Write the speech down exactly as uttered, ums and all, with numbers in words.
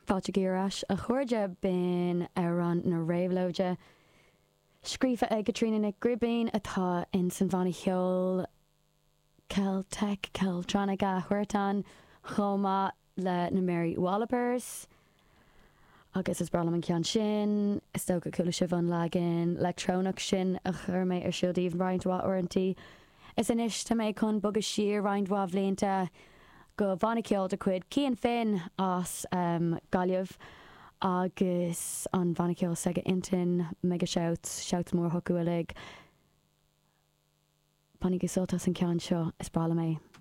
Fáilte ar ais a chairde b'in Amhrán na Réabhlóide. Scríofa ag Caitríona Nic Gribín atá in san bhanna ceoil Celtic Celtronica Huartan chomh maith le na Mary Wallopers. Agus is breá liom an ceann sin, is dócha chuala sibh an leagan leictreonach sin a chuir mé ar siúl daoibh roinnt mhaith uaireanta. Is anois tá mé chun bogadh siar roinnt mhaith blianta go bhanna ceoil de chuid Cian Finn as um, Gaillimh agus an banna ceoil s'aige Intinn mega shout shout mór chucu uilig. Bainigí sult as an ceann seo is breá liom é.